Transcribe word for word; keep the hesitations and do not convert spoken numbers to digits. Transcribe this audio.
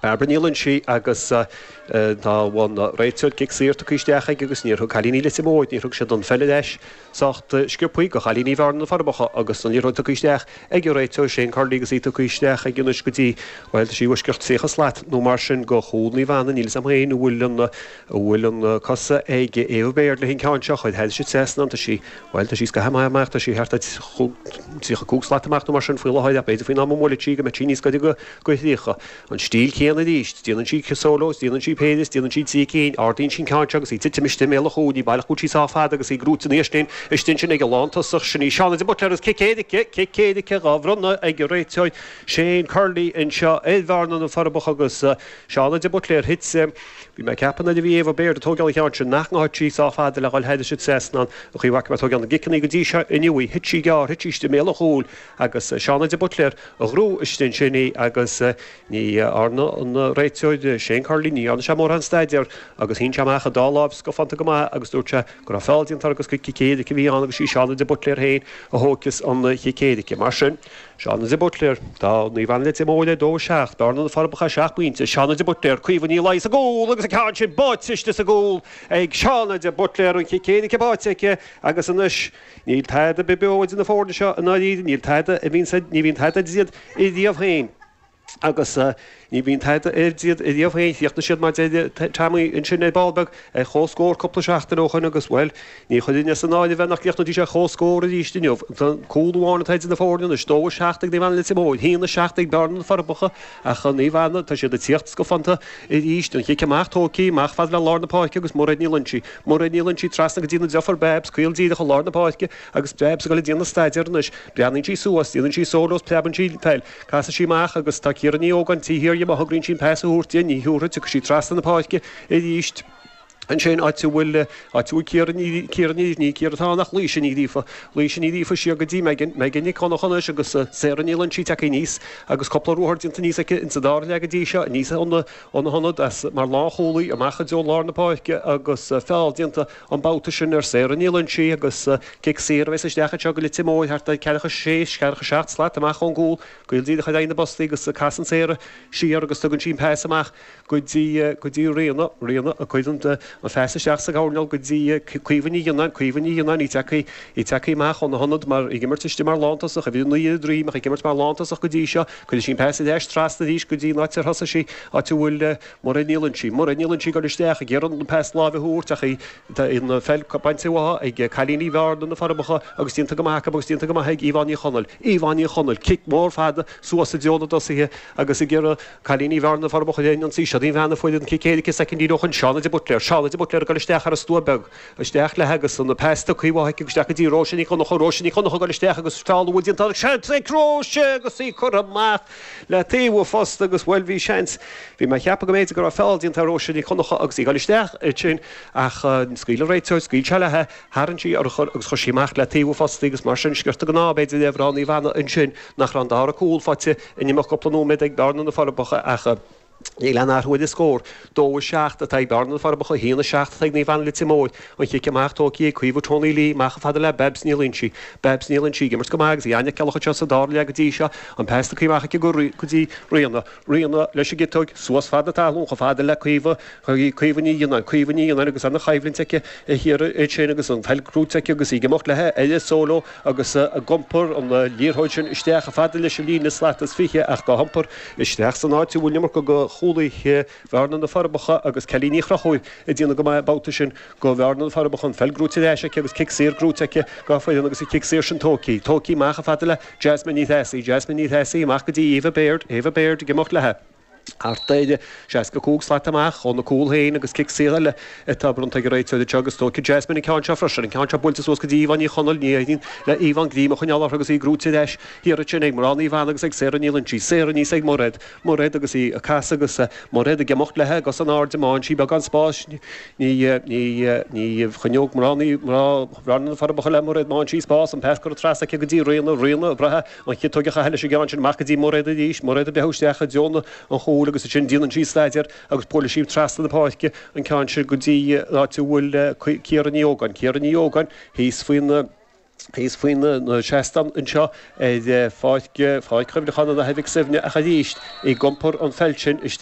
Barbara Ní Loinsigh agus tá an réiteoir cic saor tugtha isteach aige agus níor thug cailíní Leitir Móir, níor thug siad an pheil ar ais sách sciobtha go chailíní Bhearna na Forbacha agus an liathróid tugtha isteach ag an réiteoir Shane Curley agus í tugtha isteach aige anois go dtí, bhuel, tá sí i bhfoisceacht tríocha slat nó mar sin go chúl Naomh Anna, níl 'fhios a'm féin an bhfuil an, an bhfuil an cosa ag Eva Baird le an ceann seo, chuir thairis an trasnán, tá sí, bhuel, tá sí scaitheamh maith amach, tá sí thart ar tríocha cúig slat amach nó mar sin faoi láthair ach b'fhéidir faoin am a mbuailfidh sí go mbeidh sí níos gaire go thríocha. An stíl chéanna arís. Déanann sí solo is déanann sí péire is déanann sí trí cinn. Ardaíonn sí an ceann seo agus í ag titim istigh i mbéal an chúil. Ní baileach go bhfuil sí sách fada agus í gnóite aníos sin istigh ansin ag an lántosach. Sin í Shauna de Buitléar agus cic éirice, cic éirice dhá bhronnadh ag an réiteoir Shane Curley anseo ar Bhearna na Forbacha agus Shauna de Buitléar thit. Bhí mé ag ceapadh nuair a bhí Eva Baird ag tógáil an cheann sin nach ngabhfadh sí sách fada le dhul thairis an trasnán. An chaoi a bhfaca mé ag tógáil na gciceanna go dtí seo inniu í, thit sí gearr, thit sí istigh i mbéal an chúil agus Shauna de Buitléar a ghnóthaigh istigh ansin í agus ní dhearna an réiteoir Shane Curley, ní dhearna sé mórán staidéir agus shín sé amach a dá láimh scafánta go maith agus dúirt sé go raibh feall déanta agus gur cic éirice a bhí ann agus sí Shauna de Buitléar féin a thógfas an chic éirice. Mar sin, Shauna de Buitléar, tá Naomh Anna Leitir Móir ar dó a seacht, Bearna na Forbacha seacht bpointe, Shauna de Buitléar, Caoimhe Ní Laoi sa gcúl agus an ceann sin báite istigh sa gcúl ag Shauna de Buitléar, an chic éirice báite aici agus anois níl tada beo idir na foirne seo i ndáiríre, níl tada a bhíonn, ní bhíonn tada idir iad ariamh féin. Agus ní bhíonn tada idir iad ariamh féin, chríochnaigh siad mar deir Tommy ansin ar ball beag ar chomhscór cúpla seachtain ó shoin agus, bhuel, ní chuirfinn as an áireamh é nach gcríochnóidís ar chomhscór arís inniu. Cúl amháin atá idir na foirne anois, dó a seacht ag Naomh Anna Leitir Móir, haon a seacht ag Bearna na Forbacha ach Naomh Anna, tá siad ag tíocht scafánta arís. An chic amach tógtha, amach fad le lár na páirce agus Mairéad Ní Loinsigh, Mairéad Ní Loinsigh trasna go dtí na deirfiúr Babs, caol díreach i lár na páirce agus Babs ag dul ag déanamh staidéir anois. Breathnaíonn sí suas, déanann sí solo is preabann sí an pheil. Casfaidh sí amach agus tá Ciara Ní Ógáin taobh thiar di má thograíonn sí an pas a thabhairt di, ní thabharfaidh, tiocfaidh sí trasna na páirce arís ansin áit a bhfuil, áit a bhfuil Ciara Ní, Ciara Ní, ní Ciara atá ann ach Laoise Ní Ghríofa, Laoise Ní Ghríofa siar go dtí Megan, Megan Nic Dhonncha anois agus Sarah Ní Loinsigh tagtha aníos agus cúpla ruathar déanta aníos aici insa dara leath go dtí seo, aníos óna, óna hionad as mar lánchúlaí amach i dtreo lár na páirce agus feall déanta an babhta sin ar Sarah Ní Loinsigh agus cic saor a bheas isteach anseo go Leitir Móir thart ar ceathracha sé, ceathracha seacht slat amach ón gcúl. Caol díreach ar aghaidh na bpostaí agus casann Sarah siar agus tugann sí an pas amach go dtí go dtí Ríona, Ríona a cuireann an phas isteach sa gcoirnéal go dtí Caoimhe Ní Ghionnáin, Caoimhe Ní Ghionnáin, í tagtha í tagtha amach óna hionad mar ag imirt istigh mar lántosach, uimhir a naoi ar a droim ach ag imirt mar lántosach go dtí seo. Cuireann sí an pas ar ais trasna arís go dtí an áit ar thosaigh sí, áit a bhfuil Mairéad Ní Loinsigh. Mairéad Ní Loinsigh ag dul isteach ag iarraidh an pas láimhe a thabhairt ach í tá an pheil bainte uaithi ag cailíní Bhearna, na Forbacha, agus déanta go maith acu agus déanta go maith ag Yvonne Ní Chonaill. Yvonne Ní Chonaill, cic mór fada suas i dtreo na dtosaithe agus ag iarraidh cailíní Bhearna, na Forbacha a ionsaí. Siod í an bhean a fuair an cic éirice soicindí ó shoin, Shauna de Buitléar. Shauna de Buitléar ag dul isteach thar an stua beag. Isteach léi agus an pas tugtha uaithi aici isteach go dtí Róise Ní Dhonncha. Róise Ní Dhonncha ag dul isteach agus feall a bhfuil déanta ag seans ag Róise agus í curtha amach le taobh an phosta agus, bhuel, bhí seans, bhí mé ag ceapadh go mb'fhéidir go raibh feall déanta ar Róise Ní Dhonncha agus í ag dul isteach ansin ach scaoil an réiteoir, scaoil sé léi, tharraing sí urchar agus chuir sí amach le taobh an phosta í agus mar sin sciorta den ádh b'fhéidir le mná Naomh Anna ansin nach raibh an dara cúl faighte in imeacht cúpla nóiméad ag Bearna na Forbacha ach níl aon athrú ar an scór. Dó a seacht atá ag Bearna na Forbacha, a haon a seacht atá ag Naomh Anna Leitir Móir. An chic amach tógtha ag Caoimhe Tony Lee amach chomh fada le Babs Ní Loinsigh. Babs Ní Loinsigh ag imirt go maith agus í an-fheiceálach anseo sa dara leath go dtí seo. An pas tugtha amach aici go dtí Ríona. Ríona leis an gciotóg suas fad na talún chomh fada le Caoimhe, Caoimhe Ní Ghionnáin, Caoimhe Ní Ghionnáin agus an-choimhlint aici thiar ansin agus an pheil gnóite aici agus í ag imeacht léi ar a solo agus ag iompar an liathróid sin isteach chomh fada leis an líne slat is fiche ach á hiompar isteach san áit a bhfuil an iomarca de chúlaithe Bhearna na Forbacha agus Kelly Ní Chonchúir ag déanamh go maith an babhta sin do Bhearna na Forbacha an pheil gnóite ar ais aici agus cic saor gnóite aici dá foireann agus an cic saor sin tógtha, tógtha amach chomh fada le Jasmine Ní Threasaigh, Jasmine Ní Threasaigh amach go dtí Eva Baird, Eva Baird ag imeacht léi. Thart ar seasca cúig slat amach óna cúl féin agus cic saor eile atá bronnta ag an réiteoir anseo agus tógfaidh Jasmine an ceann seo freisin. An ceann seo buailte suas go dtí Yvonne Ní Chonaill. Ní éiríonn le Yvonne greim a choinneáil uirthi agus í gnóite ar ais thiar ansin ag mná Naomh Anna agus ag Sarah Ní Loinsigh. Sarah aníos ag Mairéad. Mairéad agus í ag casadh agus Mairéad ag imeacht léi i gcos in airde. Má fhaigheann sí beagán spáis ní ní ní choinneoidh mná ní mná Bhearna na Forbacha le Mairéad. Má fhaigheann sí spás, an pas curtha trasna aici go dtí Ríona. Ríona ag brath an chiotóg a chaitheamh leis an gceann sin amach go dtí Mairéad arís. Mairéad ag breith isteach i dtreo na an chúil agus ansin déanann sí staidéar agus buaileann sí trasna na páirce an ceann sin go dtí an áit a bhfuil Ciara Ní Ógáin. Ciara Ní Ógáin thíos faoin thíos faoi na seastáin anseo ar pháirc Pháirc Chuimhneacháin an Athar Mhic Suibhne ach arís ag iompar an pheil sin isteach.